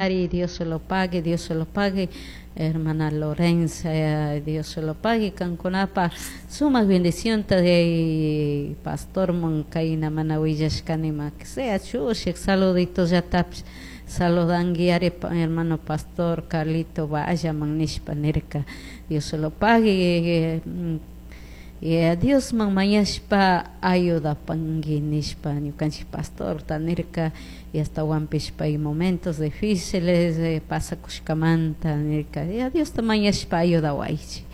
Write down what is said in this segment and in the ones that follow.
Ari, Dios se lo pague, Dios se lo pague, hermana Lorenza, Dios se lo pague, kankunapa sumak bendición de pastor kayna mana willashkanima, que sea chushik saluditollatapish saludanki ari, hermano pastor Carlito vallaman nishpa nirka. Dios se lo pague, Diosman mañashpa ayudapanki nishpa ñukanchik pastorta nirka, y ashtawanpish pay momentos difíciles pasakushkamanta nirka, ya Diosta mañashpa ayudawaychik,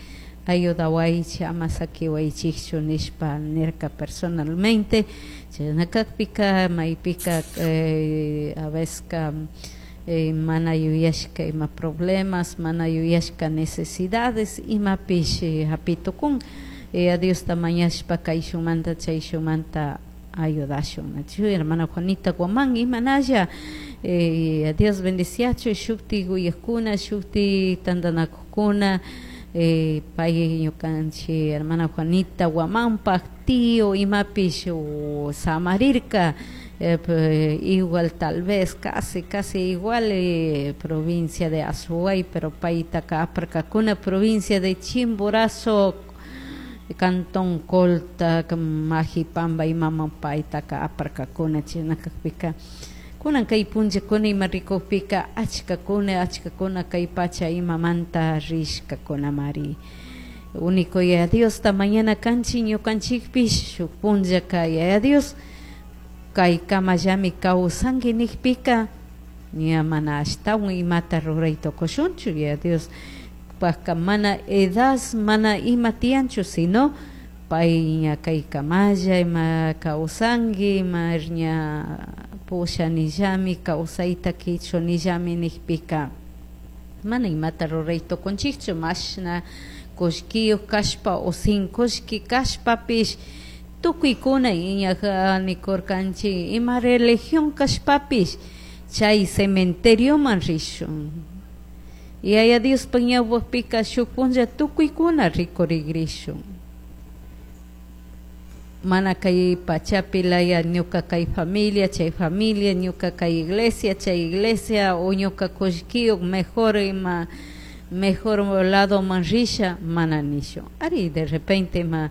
ayudawaychik, ama sakiwaychikchu nishpa nirka personalmente. Chashna kakpika maypika a veces mana yuyashka ima problemas, mana yuyashka necesidades imapish hapitukun, Diosta mañashpa kayshunmanta chayshunmanta ayudashun. Nachu hermana Juanita Guamán imanalla, Dios bendiciachu shukti uyakuna, shukti tantanakukuna, pay ñukanchik hermana Juanita Guamanpak tío imapish samarirka, igual tal vez casi casi igual provincia de Azuay, pero paytaka aparkakuna provincia de Chimborazo, Cantón Colta, Majipamba imama paytaka aparkakuna. Chashna kakpika kunan kay punllakuna ima rikukpika achkakuna, achkakuna kay pacha imamanta rishkakunamari. Único Yaya Diosta mañana kanchik ñukanchikpish shuk punllaka Yaya Dios kay kamallami kawsanki nikpika ña mana ashtawan imata ruray tukushunchu. Yaya Dios pajka mana edad, mana ima tiyanchu, sino pay ña kay kamalla ima kawsanki, ima ña pushanillami kawsayta kichunillami nikpika mana imata ruray tukunchikchu. Mashna kullkiyuq kashpa o sin kullki kashpapish tukuykuna iñak nikurkanchik ima religión kashpapish chay cementerioman rishun. Yaya Diospak ñawpakpika shuk punlla tukuykuna rikurigrishun. Mana kay pachapi laya ñuka kay familia, chay familia, ñuka kay iglesia, chay iglesia, o ñuka kullkiyuq mejor ima mejor lado man risha, mana nishun. Ari de repente ima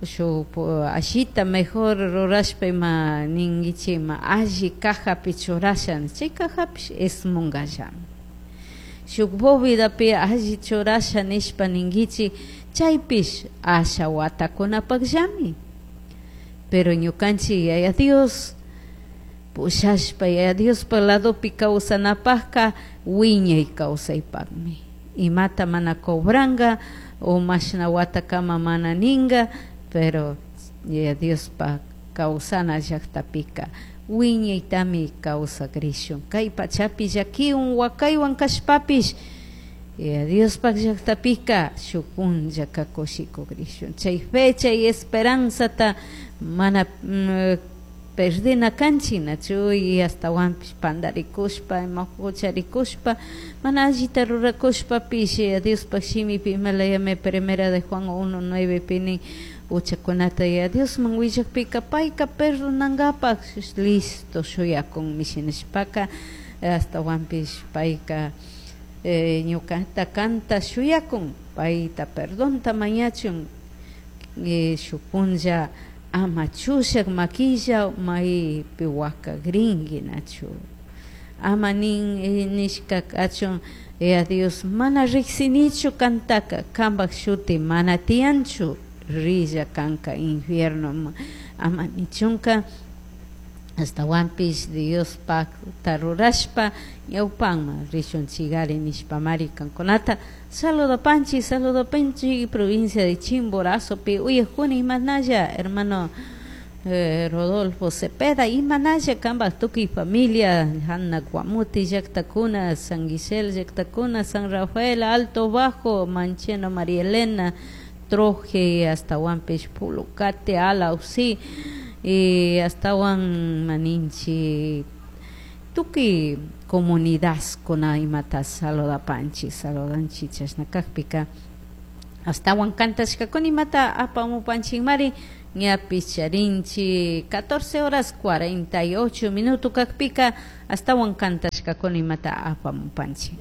shuk ashita mejor rurashpa ima ninkichik ima alli cajapi churasha, chay cajapish esmungallami. Shuk bóvedapi alli churasha nishpa ninkichik, chaypish asha watakunapakllami. Pero ñukanchik Yaya Dios pushashpa Yaya Diospa ladopi kawsanapakka wiñay kawsaypakmi. Imata mana cobranka o mashna watakama mana ninka, pero Yaya Diospa kawsana llaktapika wiñaytami kawsakrishun. Kay pachapi llakiwan wakaywan kashpapish Yaya Diospak llaktapika shuk punllaka kushikukrishun. Chay fe, chay esperanzata mana perdina kanchik, nachu y ashtawanpish pandarikushpa, ima hucharikushpa, mana allita rurakushpapish Yaya Diospak shimipi imalayami primera de Juan 1:9 pi nin huchakunata Yaya Diosman willakpika payka perdonankapak listo shuyakunmi. Shinashpaka ashtawanpish payka ñukata kanta shuyakun, payta perdonta mañachun, shuk punlla ama chushak makilla maypi wakakrinki nachu. Ama nin nishka kachun Yaya Dios mana riksinichu kantaka, kanpak shuti mana tiyanchu, rilla kanka infierno ama nichunka. Ashtawanpish Diospakta rurashpa ñawpanman rishunchikari nishpamari kankunata saludapanchik, saludapanchik provincia de Chimborazopi uyakuni imanalla hermano Rodolfo Cepeda imanalla kanpak tukuy familia Hanna Guamuti llaktakuna, San Guisel llaktakuna, San Rafael, Alto Bajo, Mancheno, María Elena, Troje, ashtawanpish Pulucate, Alausi, y ashtawan maninchi tukuy comunidad kuna imata saludapanchik, saludanchik. Chashna kakpika ashtawan kantashkakuna imata apamupanchikmari. Ñapish charinchi 14 horas 48 minuto kakpika astawan kantashkakuna imata apamupanchik.